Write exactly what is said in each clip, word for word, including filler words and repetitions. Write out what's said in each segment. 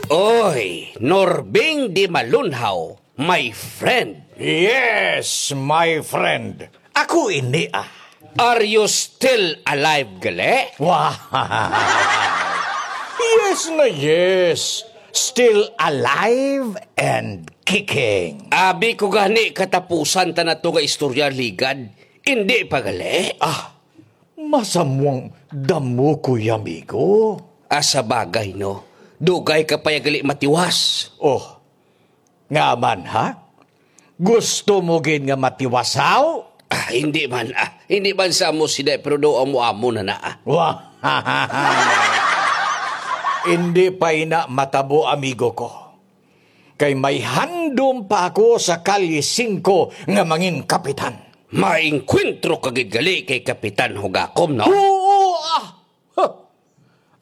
Oy, Norbing Di Malunhaw, my friend. Yes, my friend. Ako ini, ah. Are you still alive, gali? Wow. Yes na yes. Still alive and kicking. Abi ko gani katapusan ta na to nga istorya, Ligad. Hindi pa gali? Ah, masamwang damo ko, amigo. Ah, sa bagay, no? Dugay ka pa ya gali matiwas. Oh, nga man, ha? Gusto mo gid nga matiwasaw? Ah, hindi man, ah. Hindi man sa amo sila, pero daw amo-amo na na, ah. Wah! Hindi pa ina matabo, amigo ko. Kay may handom pa ako sa Kalye Singko nga mangin kapitan. Maengkwentro ka gid gali kay Kapitan Hugakom, no? Oo, ah! Huh.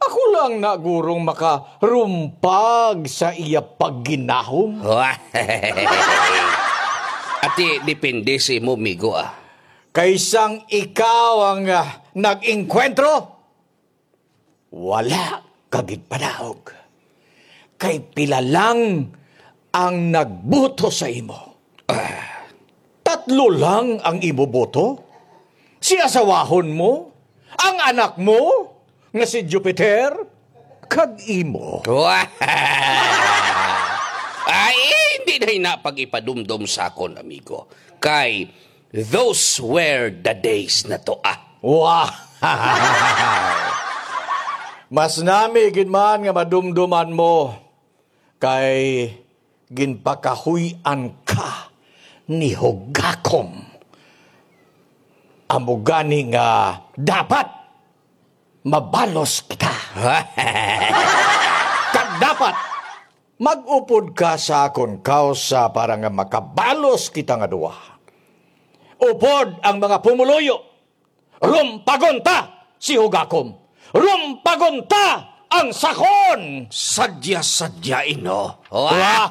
Ako lang na gurong makarumpag sa iya pagginahom. Ati, depende sa imo, migo, ah. Kay sang ikaw ang, ah, nag-engkwentro, wala ka gid padaog. Kay pila lang ang nagbuto sa imo. Ah, tatlo lang ang imo boto? Si asawahon mo, ang anak mo, nga si Jupiter, kag imo. Ay, hindi na ina pag-ipadumdom sa akon, amigo. Kay those were the days na to, ah. Wah! Mas nami gid man nga madumduman mo kay ginpakahuy-an ka ni Hugakom. Amo gani nga dapat mabalos kita. Kag dapat mag-upod ka sa akon kausa para nga makabalos kita nga duha. Upod ang mga pumuluyo. Rumpagon ta si Hugakom. Rumpagon ta ang sakon. Sadya-sadya, ino. Wah!